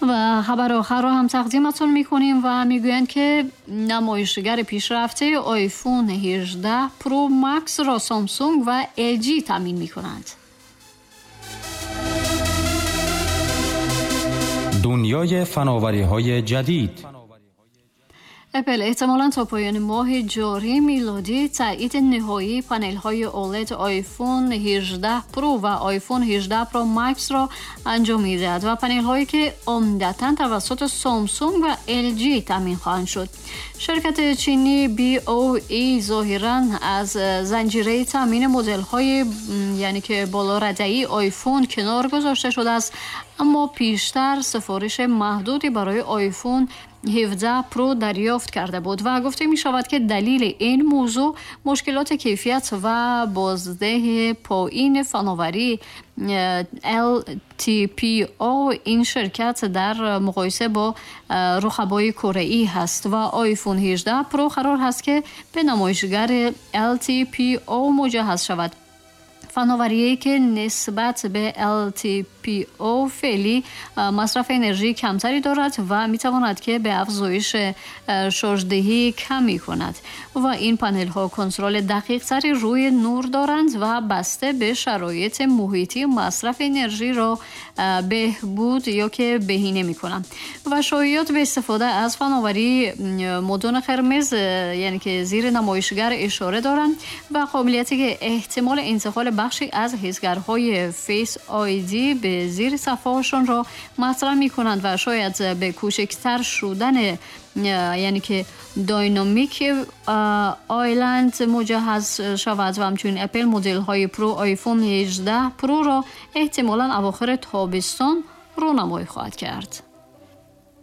و خبر آخر را هم تقدیمتون میکنیم و میگویند که نمایشگر پیشرفته آیفون 18 پرو مکس را سامسونگ و ال جی تامین میکنند. دنیای فناوری‌های جدید. اپل احتمالاً تا پایان ماه جاری میلادی تایید نهایی پنل‌های OLED آیفون 18 پرو و آیفون 18 پرو مکس را انجام می‌دهد و پنل‌هایی که عمدتاً توسط سامسونگ و ال جی تامین خواهند شد. شرکت چینی BOE ظاهراً از زنجیره تامین مدل‌های یعنی که بالا رده‌ای آیفون کنار گذاشته شده است، اما پیشتر سفارش محدودی برای آیفون 17 پرو دریافت کرده بود و گفته می شود که دلیل این موضوع مشکلات کیفیت و بازده پایین فناوری LTPO این شرکت در مقایسه با رقبای کره‌ای هست و آیفون 18 پرو قرار هست که به نمایشگر LTPO مجهز شود. فناوری‌ای که نسبت به LTPO فعلی مصرف انرژی کمتری دارد و می‌تواند که به افزایش شارژدهی کمی کند و این پنل‌ها کنترل دقیق‌تری روی نور دارند و بسته به شرایط محیطی مصرف انرژی را بهبود یا که بهینه می‌کنند. و شایعات به استفاده از فناوری مدون قرمز یعنی که زیر نمایشگر اشاره دارند و قابلیتی که احتمال انتقال بخشی از حسگرهای Face ID به زیر صفحه‌هاشون را مطرح می‌کنند و شاید به کوچکتر شدن یعنی که Dynamic Island مجهز شود و همچنین اپل مدل‌های پرو آیفون 18 پرو را احتمالاً اواخر تابستان رونمایی خواهد کرد.